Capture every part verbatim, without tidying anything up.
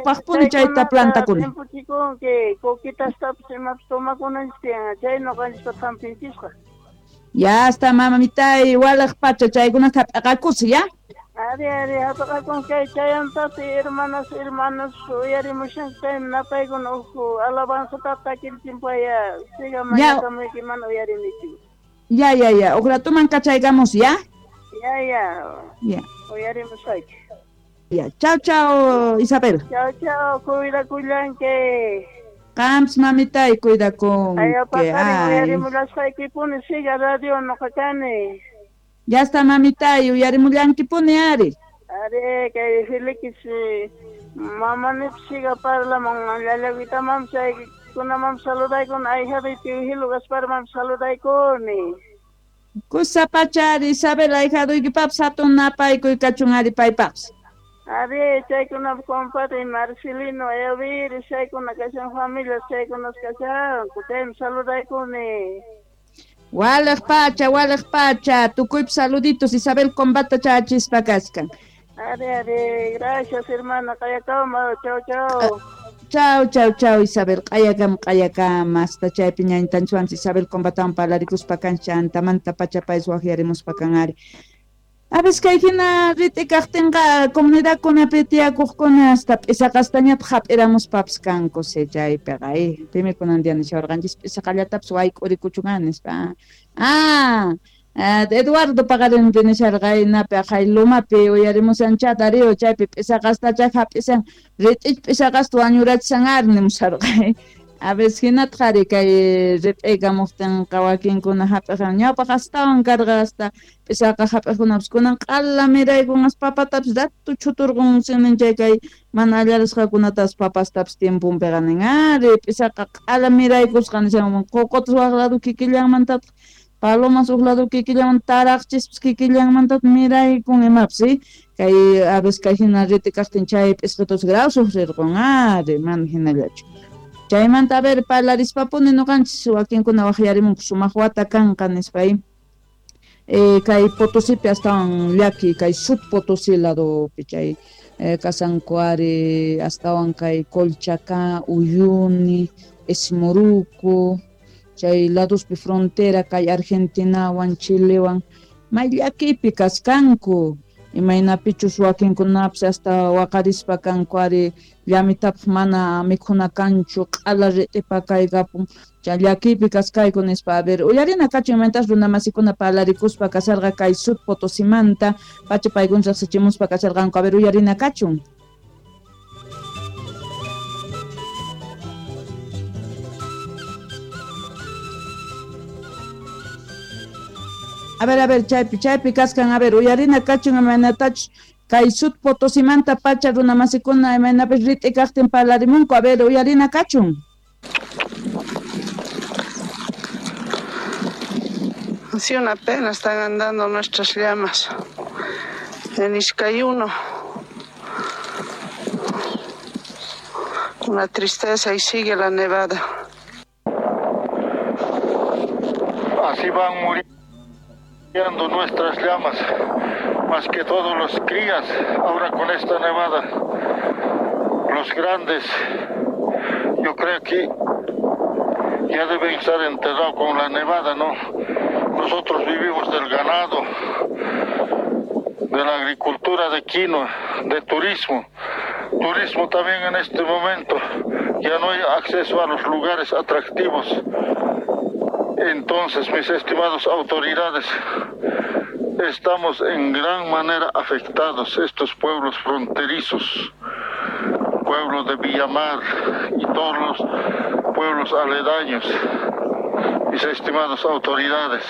Ñawpaqpuni chayta plantakuni. Timpuchikunki, coquitastapis imapis tomakunanchis tiyan, chay ñuqanchis thampinchisqa. Ya está, mamitay, walaj pacha, chaykunata hap'aqakusi, ya? Ari, ari, hap'aqakun kay chayantati hermanas, hermanos, uyarimushan chay napaykuna uhu alabanzata takirchimpaya, siga mañakamuyki mana uyarinichu. Ya, ya, ya, uj ratuman kachaykamos, ya? Ya, ya. Ya. Uyarimusayki. Ya, chao, chao, Isabel. Chao, chao, cuidakullanki. Qamps mamitay, cuidakunki. Ay, paqarin uyarimullasaykipuni, siga radio noqa kani. Ya está, mamitay, uyarimullankipuni, ari. Ari, kay Felix, mamanipis siga parlaman, llallawitaman chaykunaman saludaykuni, ahijaduypi Hilo Gasparman saludaykuni. Kusa pacha, ari, Isabel, ahijaduykipapis hatun napaykuy kachun ari paypapis. Ari, chaykuna compadre Marcelino, Elvir, chaykuna kashan familias, chaykunas kashanku, chaymi saludaykuni. Walaj pacha, walaj pacha, tukuypi saluditos, Isabel Combata chachispa kaskan. Ari, ari, gracias hermana, qayakama, chao, chao. Chao, chao, chao, Isabel, qayakama, qayakama, hasta chaypi ñañitanchwanchis Isabel Combatawan parlarikuspa kancha, antamanta pacha payis waqyarimuspa kan ari. A veces kay hina rit'i kaqtinqa comunidadkunapi tiyakuqkuna hasta p'isaqastañataq hap'iramuspapis kanku chaypiqa, eh, pimi kunan día nishawarqanchis p'isaqallatapis wayk'urikuchun nispa. Ah, Eduardo paqarinpi nisharqa inapi aqhay lumapi uyarimushan Darío chaypi p'isaqastacha hap'isan rit'ich p'isaqasta wañurachishan ari nimusharqa. A veces hinataq ari kay rit'ikamuqtinqa wakinkuna hap'iqan ñawpaq astawan karqa hasta p'isaqa hap'iqkunapis kunan q'ala miraykunas papatapis ratu chuturqun sinin chay kay mana allarisqakunatapas papastapis tiemponpiqa nin ari p'isaqa q'ala miraykusqa nishan qoqotas waq lado kikillanmantataq palomas uq lado kikillanmanta taraqchispis kikillanmantataq miraykun imapis kay a veces kay hina rit'i kaqtin chay p'isqitus graw sufrirqun ari mana hinallachu. Chaymanta a ver parlarispapuni ñuqanchis wakinkuna waqyarimunku sumaq wata kanqa nispa eh, kay Potosipi astawan llaki kay Sud Potosí ladopi chay eh, kasanku ari astawan kay Colchacá, Uyuni, Esmoruco chay ladospi frontera kay Argentinawan Chilewan may llakipi kaskanku imaynapichus wakinkunapis hasta waqarispa kanku ari llamitapaq mana mikhuna kanchu q'ala rit'ipa kaykapun chay llakipi kaskayku nispa. A ver, uyarina kachun imaynatas runamasikuna parlarikuspa kasharqa kay Sud Potosimanta pacha paykuna riqsichimuspa kasharqanku. A ver, uyarina kachun. A ver, a ver, chaypi, chaypi kaskan, a ver, uyarina kachun imaynatachus kay Sud Potosimanta pacha runamasikuna imaynapis rit'i kaqtin parlarimunku. A ver, uyarina kachun. Sí, una pena están andando nuestras llamas en Izcayuno. Una tristeza y sigue la nevada. Así van muriendo nuestras llamas, más que todos los crías, ahora con esta nevada, los grandes, yo creo que ya deben estar enterrados con la nevada, ¿no? Nosotros vivimos del ganado, de la agricultura de quinoa, de turismo. Turismo también en este momento, ya no hay acceso a los lugares atractivos. Entonces, mis estimados autoridades, estamos en gran manera afectados, estos pueblos fronterizos, pueblo de Villamar y todos los pueblos aledaños, mis estimadas autoridades.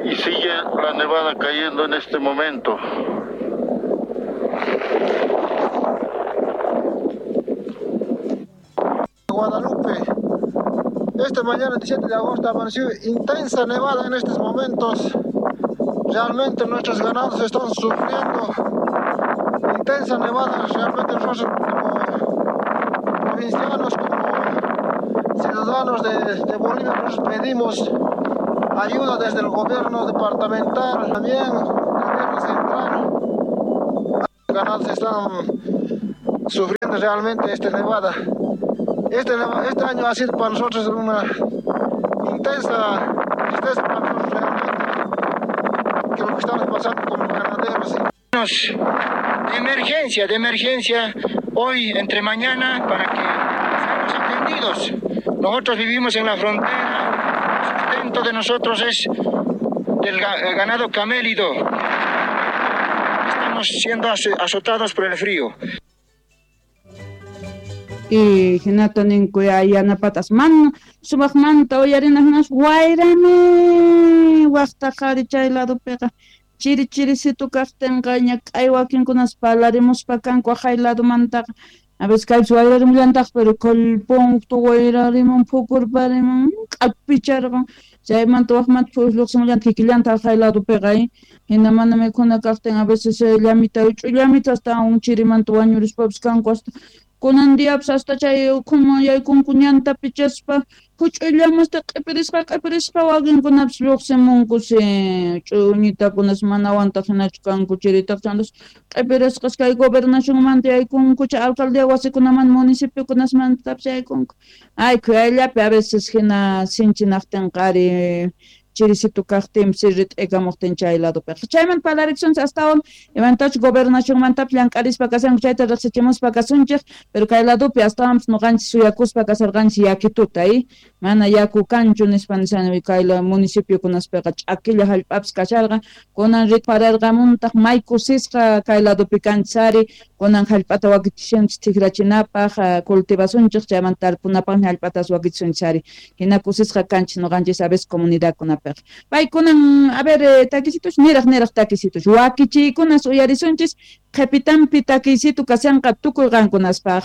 Y sigue la nevada cayendo en este momento. Guadalupe. Esta mañana, diecisiete de agosto, amaneció intensa nevada en estos momentos. Realmente nuestros ganados están sufriendo intensa nevada. Realmente nosotros como provincianos, como ciudadanos de, de Bolivia, nosotros pedimos ayuda desde el gobierno departamental, también el gobierno central. Los ganados están sufriendo realmente esta nevada. Este, este año ha sido para nosotros una intensa tristeza para nosotros realmente, que lo que estamos pasando como ganaderos. De emergencia, de emergencia, hoy entre mañana, para que seamos atendidos. Nosotros vivimos en la frontera, el sustento de nosotros es del ganado camélido. Estamos siendo azotados por el frío. Y hinata ninku yanapatas man sumaqmanta uyarina hinas wayrami waqta qhari chay ladopiqa chiri chirisitu kaqtinqa ñak'ay wakinkunas parlarimuspa kanku aqhay ladomantaqa a veces kaypis wayrarimullantaj pero kallpunta wayrarimun phukurparimun q'apicharqan chaymanta waqmanta lluqsimullanta kikillanta aqhay ladopiqa hina mana mikhuna kaqtin a veces llamita ch'ullamita hasta un chirimanta wañurispapis kanku hasta kunan diapis hasta chay ukhuman yaykunku ñanta pichaspa huch'ullamasta q'ipirisqa q'ipirisqa wakinkunapis lluqsimunkusi ch'uñitakunas mana wantaq hinachu kanku chiritaq chantas q'ipirisqas kay gobernacionmanta yaykunku chay alcaldía wasikunaman municipiokunasmantapis yaykunku ay khuyayllapi a veces hina sinchinaqtinqa ari chirisitu kaqtinpis rit'ikamuqtin chay ladopiqa chayman parlarikusunchis astawan imantachus gobernacionmantapis llank'arispa kashanku chayta riqsichimuspa kasunchik pero kay ladopi astawanpis nuqanchis suyakuspa kasarqanchis yakituta y mana yaku kanchu nispa nishani kay municipiokunaspiqa ch'akilla hallp'apis kasharqa kunan ritpararqamuntaq may kusisqa kay ladopi kanchis ari kunan hallp'ata wakichishanchis tikrachinapaq cultivasunchik chaymanta tarpunapaqmi hallp'atas wakichisunchis ari hina kusisqa kanchis nuqanchis a veces comunidadkunapi paykunan a ver takisitus niraq niraq takisitus wakichiykunas uyarisunchis qhipitanpi takisitu kashanqa tukuy qankunaspaq.